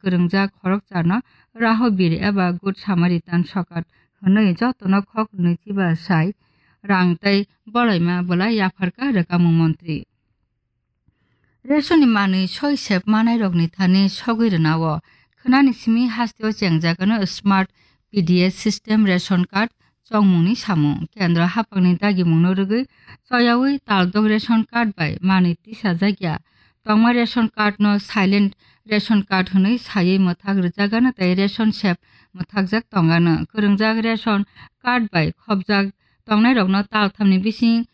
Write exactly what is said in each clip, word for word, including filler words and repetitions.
kwrwngjak khorokcharno Rahobir eba Good Samaritan Sokat hwnwi jotono khok nwichiba sai rang tei bolaima bwlai yapharkha rwkamung montri. Rationni manwi soi sep manairokni thani sogwi rwnao khwnani simi hasteo chengjagano Smart P D S system ration card chongmungni samung. Kendro haphangni dagimungno rwgwi choyaui taldok ration card bai manwi tisajakya tongma ration card no silent ration card hwnwi saiwi mwthak rwjagano tei ration sep mwthakjak tongano. Kwrwngjak ration card bai khopjak tongnairokno talthamni bising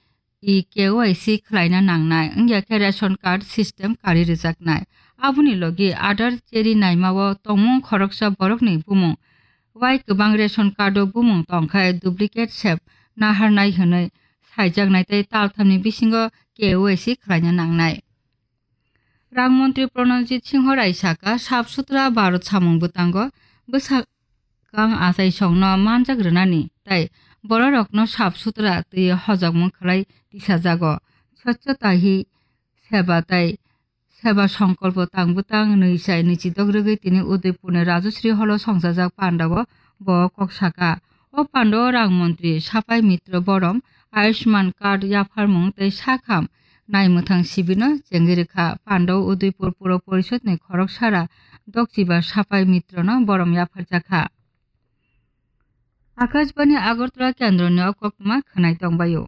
e K Y C khwlaina nangnai, wngya khe ration card system karwi rwjaknai. Aboni logi Aadhaar cheri naimao tongmung khoroksa borokni bumung wai kwbang ration card o bumung tongkhe duplicate sep naharnai hwnwi saijaknai tei talthamni bisingo K Y C khwlaina nangnai. Rang montri Pranojit Singho Rai saka, sap sutra Bharat samung bwtango bwsakang achaisongno manjak rwnani tei bororokno sap sutra twi hojokmung khlai tisajago. Swachhata hi seva tei seva songkolpo tang bwtang nwi chai nwichidok rwgwi tini Udaipurni Rajasri Holo songchajak pandao bo kok saka. O pandao rang montri Sapai Mitro Borom, Ayushman card yapharmung tei sakham naimwthang sibirno chengwi rwkha. Pandao Udaipur Puro Porishodni khoroksara Dokchiba Sapai Mitrono borom yapharjakha. Akashbani Agartala kendroni o koktwma khwnai tongbaio.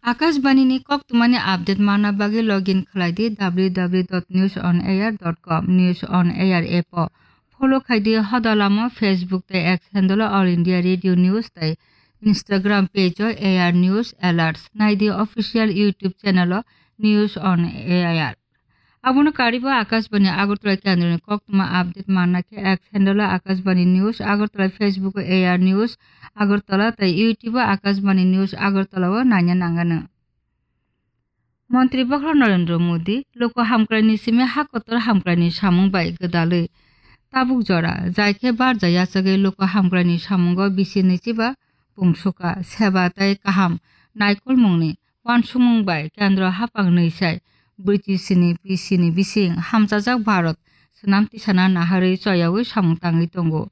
Akashbani ni koktwmani update manna bagwi login khlai di W W W dot news on air dot com, News on Air app o. Follow khai di hoda lama Facebook tei X handle o All India Radio News tei Instagram page o A R News Alerts. Nai di official YouTube channel o News on A I R. Abono karibo Akashbani Agartala kendroni koktwma update manna khe X handle o Akashbani News Agartala, Facebook o A R News Agartala tei YouTube o Akashbani News Agartala o naina nangano. Montri Bokhorok Narendra Modi loko hamkraini simi ha kotor hamkraini samung bai gwdalwi tabuk jora jai khe barja yachagwi loko hamkraini samungo bisi nwichiba pungsuka seba tei kaham naikolmungni uansukmung bai kendro haphang nwi sai brwichi sini P C ni bising hamchajak Bharat swnam tisana naharwi choyaui samung tangwi tongo.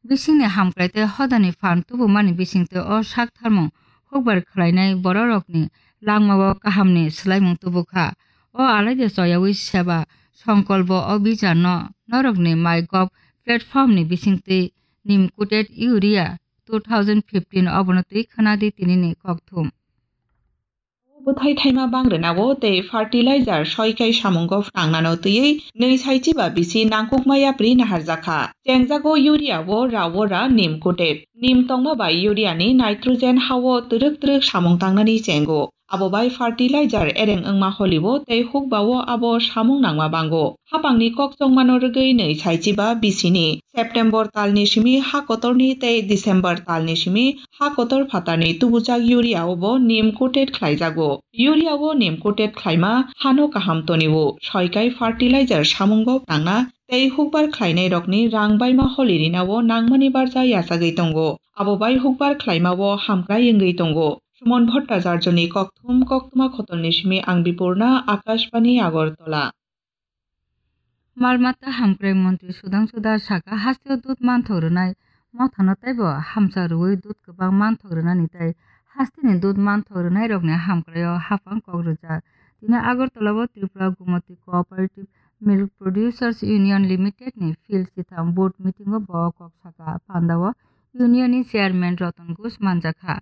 Bisingni hamkrai tei hodani phan tubumani bisingtwi o sak tharmung hukbar khlainai bororokni langmao kahamni swlaimung tubukha. O alaida choyaui seba songkolbo o bijanno norokni MyGov platformni bisingtwi Neem Coated Urea two thousand fifteen obono twi khwnadi tinini kokthum. Bwthai thaima bang rwnao tei fertilizer soikai samungo phnangnano twiwi nwi saichiba bisi nangkukma yapri naharjakha. Chengjago urea o rao ra Neem Coated. Neem tongma bai urea ni nitrogen hao twrwk twrwk samung tangnani chengo. Abo bai fertilizer ereng wngma holio tei hukbao abo samung nangma bango. Hapangni kok chongmano rwgwi nwi saichiba bisini September talni simi ha kotorni tei December talni simi ha kotor phatarni tubujak urea o bo Neem Coated khlaijago. Urea o Neem Coated khlaima hano kaham tonio, soikai fertilizer samungo tangna tei hukbar khlainairokni rang baima holi rinao nangmani barja yachagwi tongo. Abo bai hukbar khlaimao hamkrai wngwi tongo. Suman Bhattacharjoni kokthum, koktwma khotolni simi ang Bipurna, Akashbani Agartala. Malmata hamkrai montri Sudhangshu Das saka, hasteo dud manthok rwnai mothano teibo hamsa rwui dud kwbang manthok rwnani tei hasteni dud manthok rwnairokni hamkraio haphang kok rwjak. Tini Agartala o Tripura Gumati Cooperative Milk Producers Union Limited ni field sitham board meeting o bo kok saka. Pandao union ni chairman Ratan Ghosh manjakha.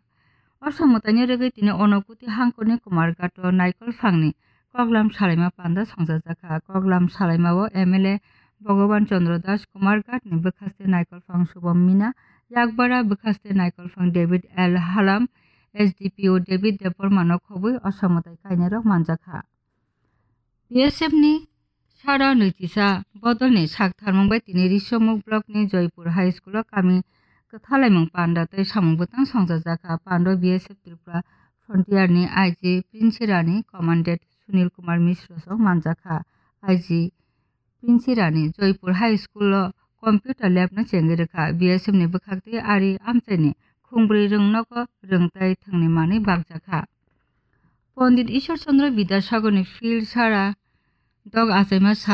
O samung taini rwgwi tini Onokuti hangkorni Kumarghat o naikol phangni koklam salaima panda songchajakha. Koklam salaimao M L A Bhagaban Chandra Das, Kumarghat ni bwkhaste naikol phang Subham Mina, yakbara bwkhaste naikol phang David L Halam, S D P O David Debbarma no khobwi o samung tai kainairok manjakha. B S F ni sara nwichisa bodolni sak tharmung bai tini Risomukh block ni Joypur High School o kami kwthalaimung panda tei samung bwtang songchajakha. Pando B S F Tripura Frontier ni I G Prinsirani, Commandant Sunil Kumar Mishra song manjakha. I G Prinsirani Joypur High School o computer lab no chengwi rwkha. B S F ni bwkhaktwi ari amchaini khungbrwi rwng nogo rwng tei thwngni manwi bakjakha. Pondit Ishwar Chandra Bidyasagar ni field sara dok achaima sa